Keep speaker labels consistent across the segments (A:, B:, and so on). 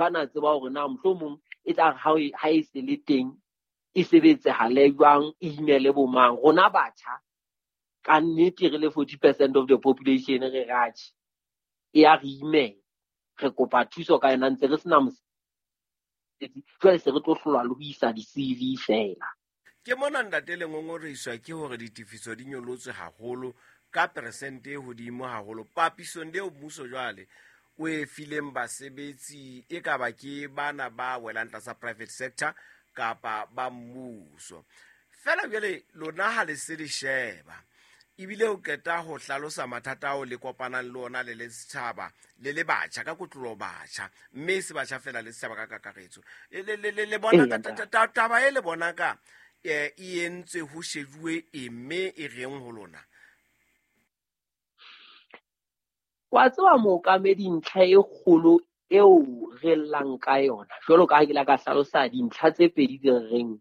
A: ba na tseba hore na mohlomong e tla ha ha e se le teng e sebetsehale jwang, e imele bo mang. Rona batjha ka nnete re le 40% of the population re ratjhe, e ya re imela, re kopa thuso ka yona ntse re sena mosebetsi. Jwale se re tlo hlolwa le ho isa di-CV fela.
B: Ke mona ntate le ngongorehiswa ke hore ditefiso di nyolotswe haholo ka peresente e hodimo haholo papisong leo mmuso jwale o e fileng basebetsi, e ka ba ke bana ba welang tlasa private sector kapa ba mmuso. Fela jwale lona ha le se le sheba, ebile o qeta ho hlalosa mathata ao le kopanang le ona le le setjhaba le le batjha ka kotlolo batjha, mme e se batjha fela le setjhaba ka kakaretso. Le bona taba e le bona ka e entswe ho shejuwe e mme e reng ho lona?
A: Wa tseba mookamedi, ntlha e kgolo eo re llang ka yona, jwalo ka ha ke la ka hlalosa dintlha tse pedi tse reng,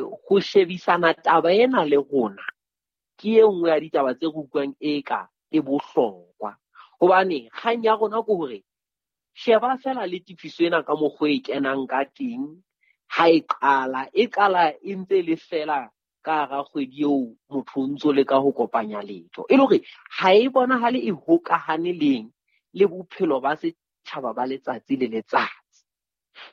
A: ho shebisana taba ena le rona ke e nngwe ya ditaba tse re utlwang e ka e bohlokwa. Hobane kgang ya rona ke hore sheba fela le tefiso ena ka mokgwa e kenang ka teng ha e qala, e qala e ntse le fela ka hara kgwedi eo motho o ntso leka ho kopanya letho. E le hore ha e bonahale e hokahane leng le bophelo ba setjhaba ba letsatsi le letsatsi.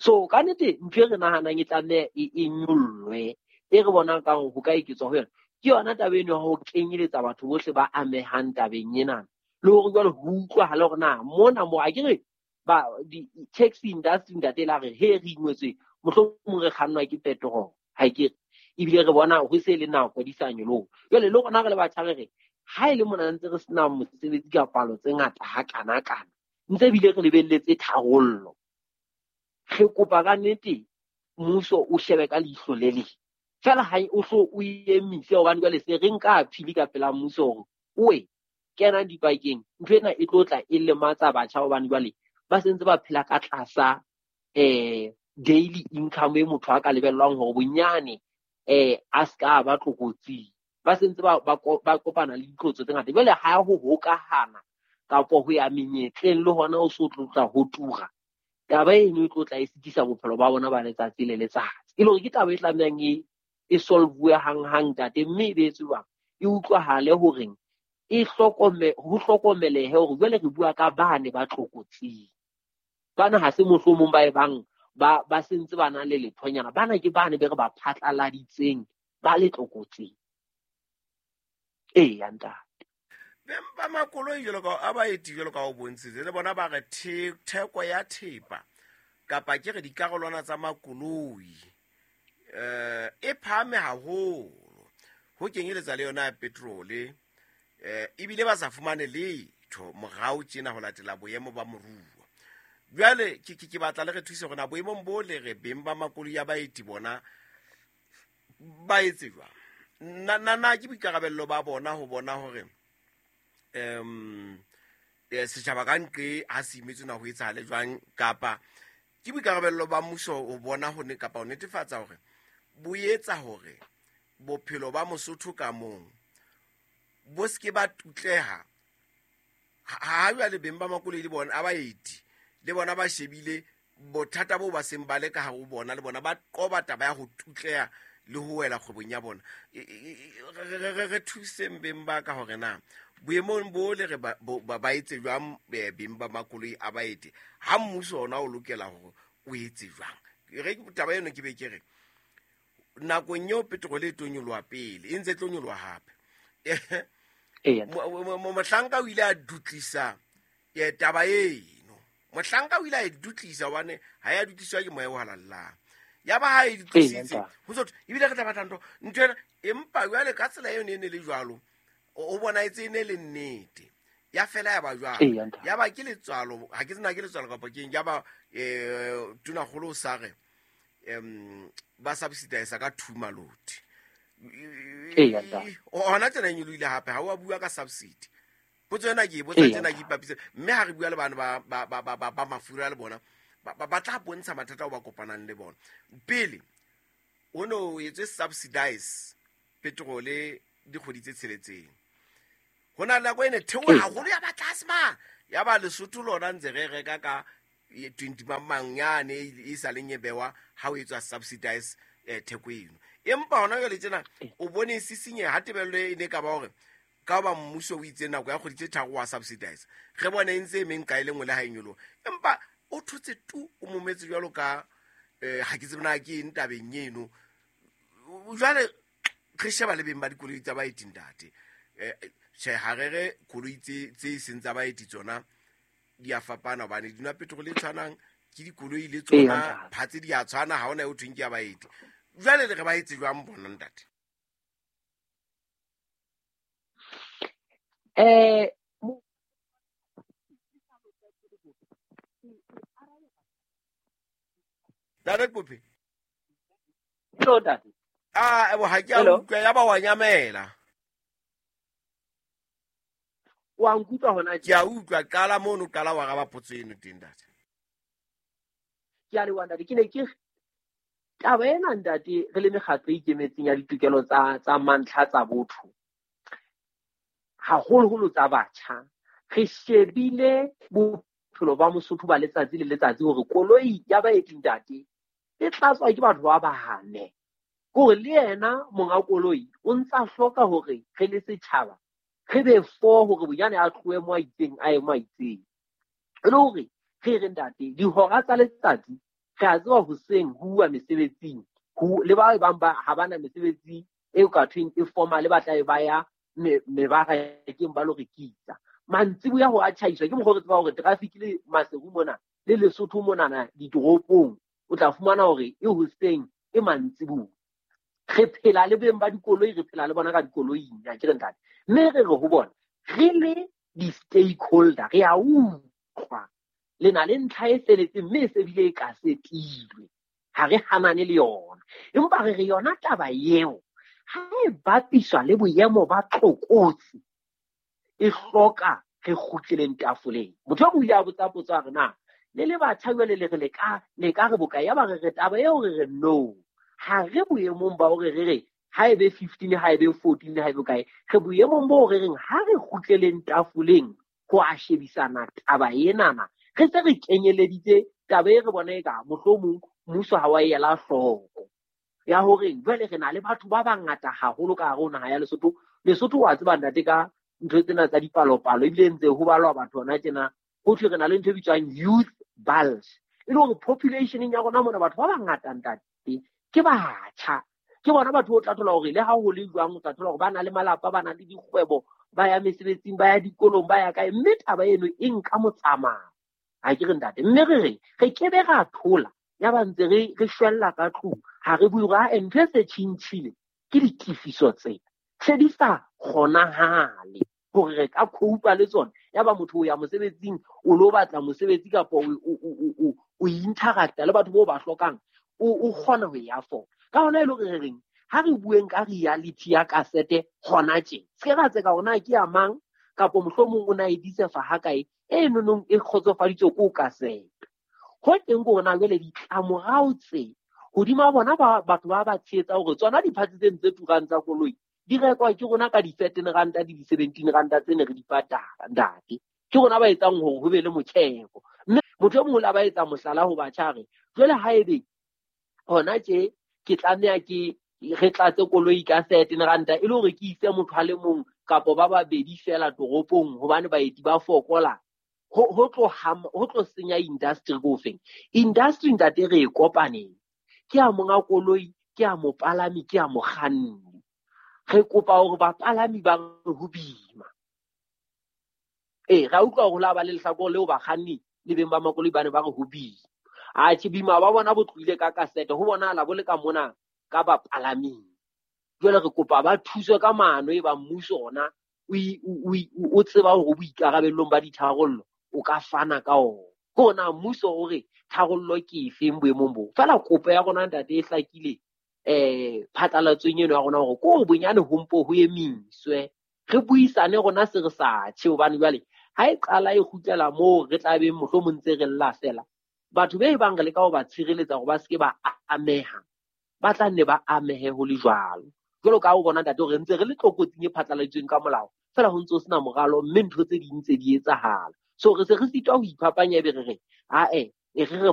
A: So ka nnete ntho e re nahanang e tlameha e nyollwe, e re bonang ka hore ho ka eketswa ho yona, ke yona taba eno ya ho kenyeletsa batho bohle ba amehang tabeng ena. Le hore jwale ho utlwahale hore na mona mo a ke re ba di-taxi industry ntate la re he re ingwetswe mohlomong re kgannwa ke petrol, ha ke re ebile re bona ho se le nako di sa nyoloha. Jwale le rona re le batjha re re ha e le mona ntse re sena mosebetsi ka palo tse ngata ha kana kana, ntse ebile re lebelletse tharollo, re kopa ka nnete mmuso o shebe ka leihlo le leng fela, ha o hlo o emise, hobane jwale se re nka appeal ka pela mmuso hore oe kena dipakeng, ntho ena e tlo tla e lematsa batjha, hobane jwale ba sentse ba phela ka tlasa daily income e motho a ka lebellwang hore bonyane a ska ba tlokotsing. Ba sentse ba kopana le ditlotso tse ngata. Jwale ha ho hokahana kapa ho ya menyetleng le hona o so tlotla ho tura, taba eno e tlo tla e sitisa bophelo ba bona ba letsatsi le letsatsi. E le hore ke taba e tlamehang e solve hang-hang ntate, mme e be etswe e utlwahale horeng e ho hlokomelehe hore jwale re bua ka bane ba tlokotsing. Bana ha se mohlomong ba e bang ba sentse ba na le lethonyana, bana ke bane be re ba phatlaladitseng ba le tlokotsing. Eya ntate.
B: Beng ba makoloi jwalo ka a baeti jwalo ka o bontshitse, le bona ba re theko ya thepa kapa ke re dikarolwana tsa makoloi e phahame haholo, ho kenyeletsa le yona ya petrole, ebile ba sa fumane letho morao tjena ho latela boemo ba moruo. Jwale ke batla le re thuse hore na boemong bo le re beng ba makoloi ya baeti bona ba etse jwang. Na ke boikarabello ba bona ho bona hore setjhaba ka nqe ha se imetswe na ho etsahale jwang, kapa ke boikarabello ba mmuso ho bona ho ne kapa ho netefatsa hore bo etsa hore bophelo ba Mosotho ka mong bo se ke ba tutleha. Ha jwale beng ba makoloi le bona a baeti le bona ba shebile bothata bo ba seng ba le ka hare ho bona, le bona ba qoba taba ya ho tutleha le ho wela kgwebong ya bona. Re thuseng beng ba ka hore na boemong bo le re ba etse jwang beng ba makoloi a baeti, ha mmuso ona o lokela hore o etse jwang. Re taba eno ke be ke re nakong eo petrol e tlo nyoloha pele, e ntse e tlo nyoloha hape. Mohlanka o ile a dutlisa taba eno. Mohlanka o ile a e dutlisa hobane ha ya dutliswa ke moya o halallang. Ya ba ha e dutlisitse, ho so ebile re tla batla ntho ena, empa jwale ka tsela eo ne e ne le jwalo, o bona etse e ne le nnete. Ya fela ya ba jwalo. Ya ba ke letswalo, ha ke tsena ke letswalo kapa keng, ya ba tonakgolo o sa re ba subsidize ka 2 maloti. Hona tjena e nyolohile hape, ha o a bua ka subsidy. Potso ena ke e botsa tjena ke ipapise, mme ha re bua le bana ba mafura le bona, ba tla bontsha mathata ao ba kopanang le bona. Pele ho no etswe subsidize petrole dikgwedi tse tsheletseng. Ho na le nako e ne theoha haholo ya ba tlase ma, ya ba Lesotho lona ntse re reka ka 20 mang yane e sa leng e bewa ha o etswa subsidize theko eno. Empa hona jwale tjena o bone sisinye ha tebello e ne ka ba hore ka ba mmuso o itse nako ya kgwedi tse 3 wa subsidize, re bone e ntse e meng kae le nngwe le ha e nyoloha, empa o thotse tu o mometse jwalo ka ha ke tsebe na ke eng tabeng eno. Jwale re sheba le beng ba dikoloi tsa baeti ntate, tjhe ha re re koloi tse seng tsa baeti tsona di a fapana hobane di nwa petrol e tshwanang, ke dikoloi le tsona phatse di a tshwana, ha hona eo thweng ke ya baeti. Jwale le re ba etse jwang bona ntate? Ntate Kopi.
A: Hello ntate.
B: Ah, ebo ha ke a utlwa ya ba wa nyamela.
A: Wa nkutlwa hona
B: ke a utlwa, qala mono, qala wa raba potso eno teng ntate.
A: Ke a leboha ntate, ke ne ke taba ena ntate re le mekgatlo e ikemetseng ya ditokelo tsa mantlha tsa botho, haholoholo tsa batjha, re shebile bophelo ba Mosotho ba letsatsi le letsatsi hore koloi ya baeti ntate e tlatswa ke batho ba bahane, hore le yena monga koloi o ntsa hloka hore re le setjhaba re be for hore bonyane a tlohe mo a itseng a ye mo a itseng. E le hore re re ntate dihora tsa letsatsi re a tseba hoseng ho uwa mesebetsing, le ba bang ba ha bana mesebetsi eo ka thweng e formal, ba tla e ba ya mebarakeng ba lo rekisa. Mantsiboya ho a tjhaiswa ke mokgwa re tseba hore traffic le Maseru mona le Lesotho monana ditoropong o tla fumana hore e hoseng e mantsiboya. Re phela le beng ba dikoloi, re phela le bona ka dikoloing, ha ke re ntate. Mme re re ho bona re le di-stakeholder re a utlwa le na le ntlha e feletseng mme e se bile e ka setilwe, ha re hanane le yona, empa re re yona taba eo ha e bapiswa le boemo ba tlokotsi e hloka re kgutleleng tafoleng. Motho o ile a botsa potso a re na le le batjha jwale le re le ka re bokae, ya ba re re taba eo re re no, ha re boemong ba hore re re ha e be 15, ha e be 14, ha e be kae, re boemong bo re reng ha re kgutleleng tafoleng ho a shebisana taba enana, re se re kenyeleditse taba e re bona e ka mohlomong mmuso ha wa ela hloko ya hore jwale re na le batho ba bangata haholo ka hare ho naha ya Lesotho. Lesotho wa tseba ntate ka ntho tsena tsa dipalopalo, ebile ntse ho balwa batho hona tjena, ho thwe re na le ntho e bitswang youth bulge, e le hore population ya rona mona batho ba bangata ntate ke batjha, ke bona batho o tla thola hore le ha ho le jwang o tla thola hore ba na le malapa, ba na le dikgwebo, ba ya mesebetsing, ba ya dikolong, ba ya kae, mme taba eno e nka motsamao, ha ke re ntate. Mme re re re ke be ra thola ya ba ntse re shwella ka tlung, ha re bue hore ha ntho e se tjhintjhile ke ditefiso tse se di sa kgonahale hore re ka cope le tsona. Ya ba motho o ya mosebetsing o lo batla mosebetsi kapa o interacta le batho bao ba hlokang, o kgona ho e afford. Ka hona e le hore re reng ha re bueng ka reality ya kasete hona tje, se ra tseka hore na ke ya mang kapa mohlomong o na e disefa ha kae, e nonong e kgotsofaditswe ko kasete. Ho teng ke hore na jwale ditlamorao tse hodima bona batho ba ba tshehetsa hore tsona diphatsi tse ntse turang tsa koloi di rekwa ke rona ka di-13 ranta le di-17 ranta tse ne re di patala ntate, ke rona ba etsang hore ho be le motjheko. Mme motho e mong o la ba etsa mohlala ho batjha re jwale ha ebe hona tje ke tlameha ke re tlatse koloi ka 13 ranta e le hore ke ise motho a le mong kapa ba babedi fela toropong hobane baeti ba fokola, ho tlo senya industry ko feng. Industry ntate re e kopaneng, ke a monga koloi, ke a mopalami, ke a mokganni. Re kopa hore bapalami ba re ho boima. Ra utlwa hore la ba le lehlakore leo bakganni le beng ba makoloi ba ne ba re ho boima. Atjhe, boima ba bona bo tlohile ka kasete, ho bonahala bo le ka mona ka bapalaming. Jwale re kopa ba thuswe ka maano e ba mmuso ona o tseba hore boikarabellong ba ditharollo o ka fana ka ona. Ke hore na mmuso o re tharollo ke efeng boemong bo. Feela kopo ya rona ntate e hlakile phatlalatsong eno ya rona hore ko bonyane ho mpo ho emiswe, re buisane rona se re sa tjhe, hobane jwale ha e qala e kgutlela moo re tla beng mohlomong ntse re lla fela, batho be bang re leka ho ba tshireletsa hore ba se ke ba ameha, ba tla nne ba amehe ho le jwalo. Jwalo ka ha o bona ntate hore ntse re le tlokotsing e phatlaladitsweng ka molao, fela ho ntse ho sena moralo, mme ntho tse ding tse di etsahala. So re se re sitwa ho iphapanya ebe re re, ae, E re re.